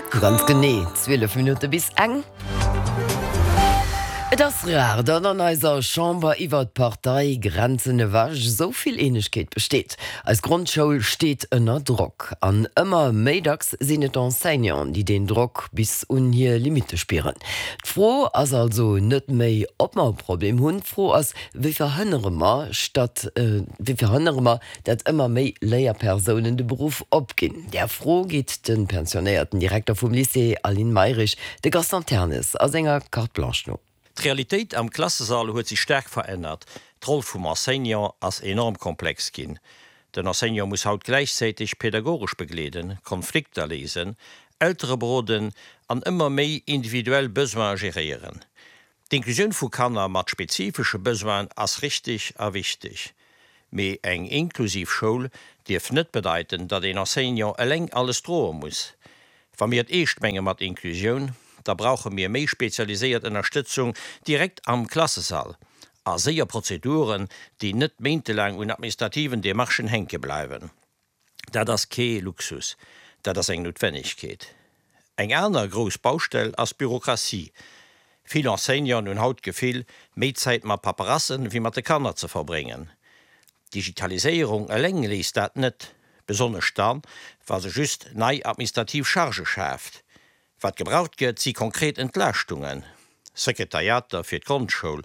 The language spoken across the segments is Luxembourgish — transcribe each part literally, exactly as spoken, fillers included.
Ganz genee zwielef Minutte bis eng. Et ass rar, datt an eiser Chamber iwwer d'Parteigrenzen ewech esou vill Eenegkeet besteet. Eis Grondschoul steet ënner Drock. An ëmmer méi dacks sinn et d'Enseignanten, déi deen Drock bis un hir Limitte spieren. D'Fro ass also net méi, ob mer e Problem hunn, d'Fro ass, wéi verhënnere mer, statt, wéi verhënnere mer, datt ëmmer méi Léierpersounen de Beruff opginn? Där Fro geet de pensionéierten Direkter vum Lycée Aline Mayrisch, de Gaston Ternes, a senger Carte Blanche no. D'Realitéit am Klassesall huet sech staark verännert. D'Roll vum Enseignant ass enorm komplex ginn. Den Enseignant muss haut gläichzäiteg pedagogesch begleeden, Konflikter léisen, Eltere beroden an ëmmer méi individuell Besoine geréieren. D'Inklusioun vu Kanner mat spezifesche Besoinen ass richteg a wichteg. Mee eng inklusiv Schoul dierf net bedeiten, datt een Enseignant eleng alles droe muss. Wa mir et eescht menge mat Inklusioun, da brauche mir méi spezialiséiert Ënnerstëtzung direkt am Klassesall a séier Prozeduren, déi net méintelaang un administrativen Demarchen hänke bleiwen. Dat ass kee Luxus, dat ass eng Noutwennegkeet. Eng aner grouss Baustell ass d'Bürokratie. Vill Enseignanten hunn haut d'Gefill, méi Zäit mat Paperassen wéi mat de Kanner ze verbréngen. D'Digitaliséierung eleng léist dat net, besonnesch dann, wa se just nei administrativ Chargë schaaft. Wat gebraucht gëtt, si konkret Entlaaschtungen, Sekretariater fir d'Grondschoul,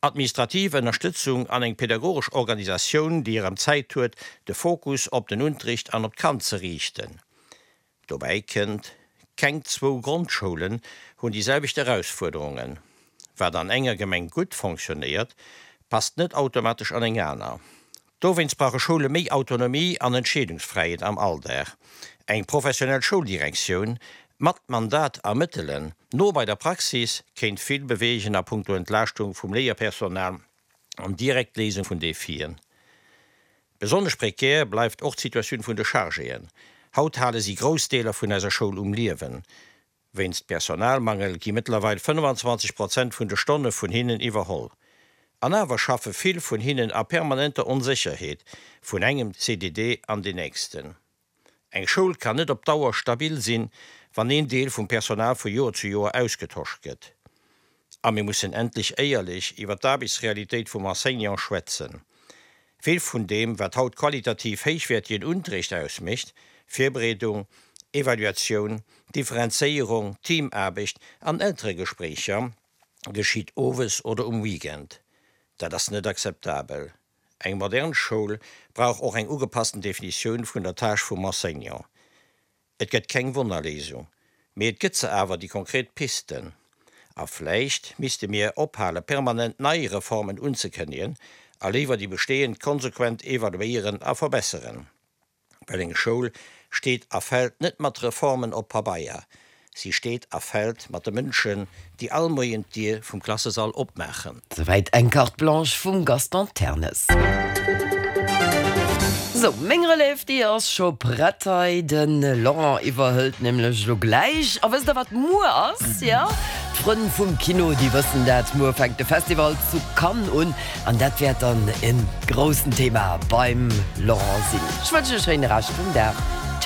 administrativ Ënnerstëtzung an eng pedagogesch Organisatioun, déi erëm Zäit huet, de Fokus op den Unterricht an op d'Kand ze riichten. Dobäi kënnt, Keng zwou Grondschoulen hunn déi selwecht Erausfuerderungen. Wat an enger Gemeng gutt fonctionnéiert, passt net automatesch an eng aner. Dowéinst brauche Schoule méi Autonomie an Entscheedungsfräiheet am Alldag. Eng professionell Schouldirektioun, mat Mandat a Mëttelen, no bei der Praxis, kéint vill beweegen a punkto Entlaaschtung vum Léierpersonal an direkt Léisung vun Defien. Besonnesch prekär bleift och d'Situatioun vun de Chargéen. Haut hale si grouss Deeler vun eiser Schoul um Liewen. Wéinst Personalmangel gi mëttlerweil fënnfanzwanzeg Prozent vun de Stonne vun hinnen iwwerholl. An awer schaffe vill vun hinnen a permanenter Onsécherheet, vun engem C D D an deen nächsten. Eng Schoul kann net op Dauer stabil sinn, wann een Deel vum Personal vu Joer zu Joer ausgetosch gëtt. A mir mussen endlech éierlech iwwer d'Aarbechtsrealitéit vum Enseignant schwätzen. Vill vun deem, wat haut qualitativ héichwäertegen Unterrecht ausmécht, Virbereedung, Evaluatioun, Differenzéierung, Teamaarbecht an Elteregespréicher, geschitt owes oder um Weekend. Dat ass net akzeptabel. Eng modern Schoul brauch och eng ugepassten Definitioun vun der Tâche vum Enseignant. Et gëtt keng Wonnerléisung, mee et gëtt se awer, déi konkret Pisten. A vläicht misste mir ophale permanent nei Reformen unzekënnegen a léiwer déi bestehend konsequent evaluéieren a verbesseren. Well eng Schoul steet a fält net mat Reformen op Pabeier, si steet a fält mat de Mënschen, déi all Moien d'Dier vum Klassesall opmaachen. Souwäit eng Carte Blanche vum Gaston Ternes. Sou, meng Relève, déi ass scho prett hei. De Laurent iwwerhëlt nämlech elo gläich. A wësst der, wat muer ass? Jo, d'Frënn vum Kino, déi wëssen dat, Muer fänkt de Festival zu Cannes un an dat wäert dann e groussen Thema beim Laurent sinn. Ech wënschen e schéine Rescht vum Dag.